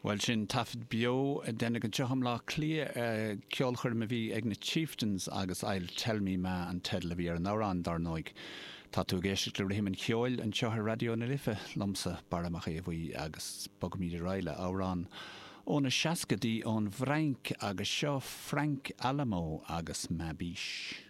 Bhuel, sin taifead beo a deineadh anseo i mBleá Cliath, ceolchoirm a bhí ag na Chieftains agus I'll Tell Me Ma an teideal a bhí ar an amhrán, dar ndóigh. Tá tú ag éisteacht le Rithim an Cheoil anseo ar Raidió na Life, liomsa, Barra Mac Aodha Bhuí, agus bogaimid ar aghaidh le amhrán ó na seascaidí ón bhFrainc agus seo Frank Alamo agus Ma Biche.